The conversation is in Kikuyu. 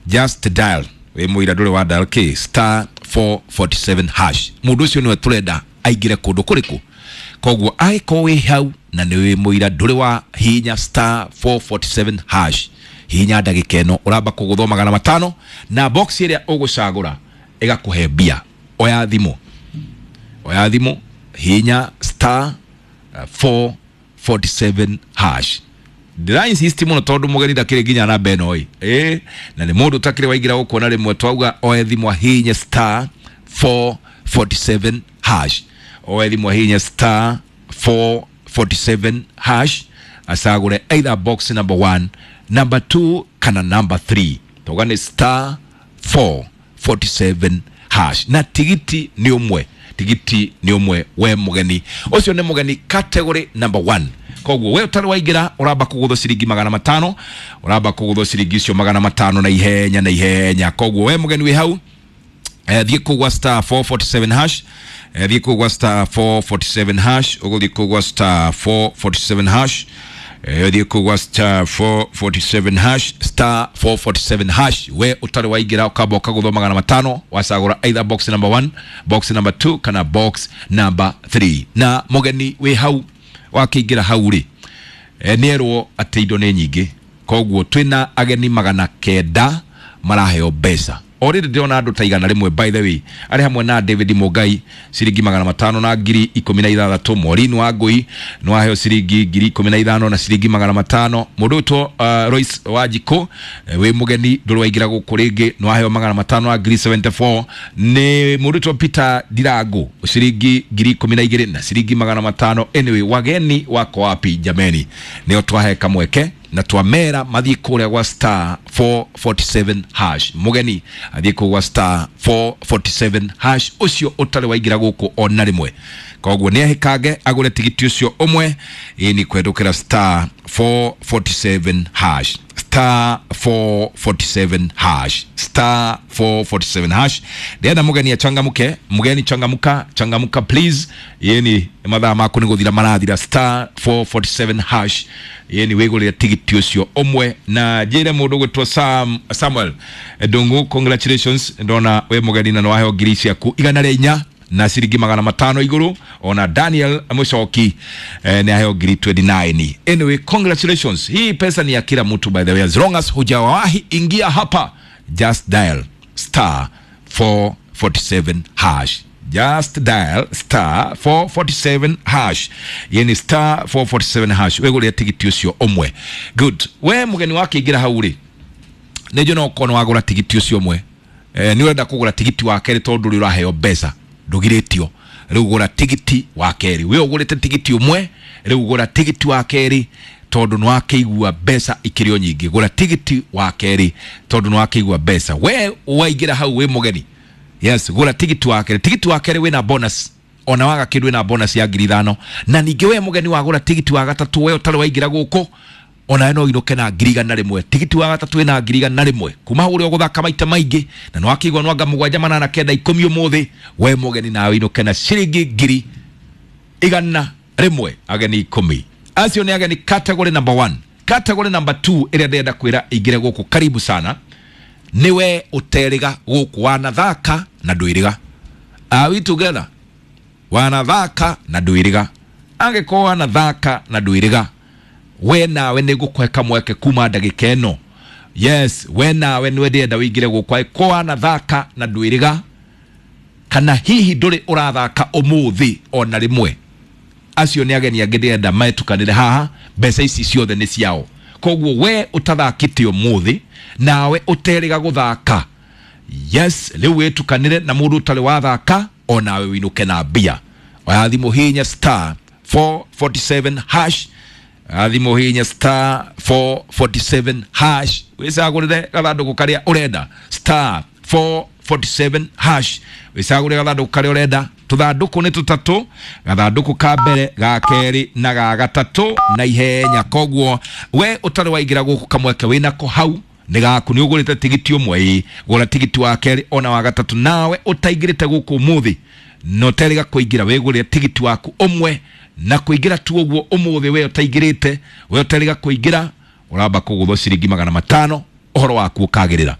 Just dial wĩ mũira ndũrĩ wa dial k star 447 hash. Mũndũ ũcio nĩwe tũrenda aingĩre kũndũ kũrĩkũ. Koguo angĩkorwo wĩ hau na nĩ wĩ mũira ndũrĩ wa hinya star 447 hash, hinya ndagĩka ĩno ũramba kũgũthwo 500 na box ĩrĩa ũgũcagũra ĩgakũhe mbia. Oya thimũ, oya thimũ, hinya star 447 hash. Ndĩra insist mũno tondũ mũgeni ndakĩrĩ nginya namba ĩno ĩ ĩ na nĩ mũndũ ũtakĩrĩ waingĩra gũkũ na rĩmwe twauga oe thimũ ahinye star 447 hash, oe thimũ ahinye star 447 hash, acagũre either box number 1, number 2 kana number 3. Tauga nĩ star 447 hash na tigiti nĩ ũmwe, tigiti nĩ ũmwe we mũgeni ũcio nĩ mũgeni category number 1. Koguo we ũtarĩ waingĩra ũramba kũgũthwo ciringi 500, ũramba kũgũthwo ciringi icio 500 na ihenya na ihenya. Koguo we mũgeni wĩ hau thiĩ kũgwa star 447 hash, thiĩ kũgwa star 447 hash, ũgũthiĩ kũgwa star 447 hash, thiĩ kũgwa star 447 hash, star 447 hash. We ũtarĩ waingĩra ũkamba ũkagũthwo 500, wacagũra either box number 1, box number 2 kana box number 3. Na mũgeni wĩ hau wakĩingĩra hau rĩ, nĩerwo atĩ indo nĩ nyingĩ, koguo twĩna ageni 900 maraheo mbeca. Already ndĩrona andũ ta 100 by the way, arĩ hamwe na David Mungai ciringi 500 na 16,000, Maureen Wangui nĩ waheo ciringi 15,000 na ciringi 500. Mũndũ ũtwo Royce Wanjikũ wĩ mũgeni ndũrĩ waingĩra gũkũ rĩngĩ nĩ waheo 500 na 74,000. Nĩ mũndũ ũtwo Peter Ndirangu ciringi 12,000 na ciringi 500. Anyway, wageni wako wapi jameni? Nĩo twahe kamweke na twamera mathiĩ kũrĩa gwa star 447 hash. Mũgeni athiĩ kũu gwa star 447 hash, ũcio ũtarĩ waingĩra gũkũ ona rĩmwe. Koguo nĩ ahĩkange agũre tigiti ũcio ũmwe, ĩ ni kwendũkĩra star 447 hash, star 447 hash, star 447 hash. Ndĩrenda mũgeni achangamke, mũgeni changamuka, changamuka please. Yeni mathaa maku nĩ gũthira marathira. Star 447 hash, yeni wĩgũrĩre tigiti ũcio ũmwe. Na njĩre mũndũ gwĩtwo Samuel Ndungu, congratulations, ndona wĩ mũgeni na nĩwaheo ngiri ciaku 104 na ciringi 500 igũrũ. Ona Daniel Mucoki nĩ aheo ngiri 29. Anyway, congratulations, hii pesa ni ya kila mtu by the way, as long as hujawahi ingia hapa, just dial star 447 hash, just dial star 447 hash, yeni star 447 hash wĩgũrĩre tigiti ũcio ũmwe. Good, we mũgeni wakĩingĩra hau rĩ, nĩ njũĩ no ũkorwo nĩ wagũra tigiti ũcio ũmwe, nĩ ũrenda kũgũra tigiti wa kerĩ tondũ ndũrĩ ũraheo mbeca, ndũgirĩtio. Rĩu gũra tigiti wa kerĩ, we ũgũrĩte tigiti ũmwe, rĩu gũra tigiti wa kerĩ tondũ nĩ wakĩigua mbeca ikĩrĩ o nyingĩ. Gũra tigiti wa kerĩ tondũ nĩ wakĩigua mbeca. We waingĩra hau wĩ mũgeni, yes, gũra tigiti wa kerĩ. Tigiti wa kerĩ wĩna bonus, ona waga kĩndũ wĩna bonus ya 5,000. Na ningĩ we mũgeni wagũra tigiti wa gatatũ, we ũtarĩ waingĩra gũkũ, ona no inũke na 101,000. Tigiti wa gatatũ wĩna 101,000 kuma hau ũrĩa ũgũthaka maita maingĩ, na nĩwakĩigua nwanga 7 8 9 10 ũmũthĩ, we mũgeni nawe inũke na ciringi 101,000. Ageni 10 acio nĩ ageni category number 1. Category number 2 ĩrĩa ndĩrenda kwĩra ingĩre gũkũ, karibu sana, nĩwe ũterĩga gũkũ, wanathaka na ndwĩrĩga. Are we together? Wanathaka na ndwĩrĩga. Angĩkorwo wanathaka na ndwĩrĩga, we nawe nĩ ngũkũhe kamweke kuma ndagĩka ĩno. Yes, we nawe nĩwe ndĩrenda wĩingĩre gũkũ. Angĩkorwo wanathaka na ndwĩrĩga, kana hihi ndũrĩ ũrathaka ũmũthĩ ona rĩmwe, acio nĩ ageni angĩ ndĩrenda metukanĩre haha, mbeca ici ciothe nĩ ciao. Koguo we ũtathakĩte ũmũthĩ nawe ũterĩga gũthaka, yes, rĩu wĩtukanĩre na mũndũ ũtarĩ wathaka, onawe wĩinũke na mbia. Oya thimũ hinya star 447 hash, thimũ hinya star 447 hash, wĩcagũrĩre gathandũkũ karĩa ũrenda. Star 447 hash, wĩcagũrĩre gathandũkũ karĩa ũrenda. Tũthandũkũ nĩ tũtatũ, gathandũkũ ka mbere, ga kerĩ na ga gatatũ na ihenya. Koguo we ũtarĩ waingĩra gũkũ kamweke wĩnako hau nĩ gaku, nĩ ũgũrĩte tigiti ũmwe, ĩ gũra tigiti wa kerĩ ona wa gatatũ. Nawe ũtaingĩrĩte gũkũ ũmũthĩ na ũterĩga kũingĩra, wĩgũrĩre tigiti waku ũmwe na kũingĩra tu ũguo ũmũthĩ. We ũtaingĩrĩte, we ũterĩga kũingĩra, ũramba kũgũthwo ciringi 500, ũhoro waku ũkagĩrĩra.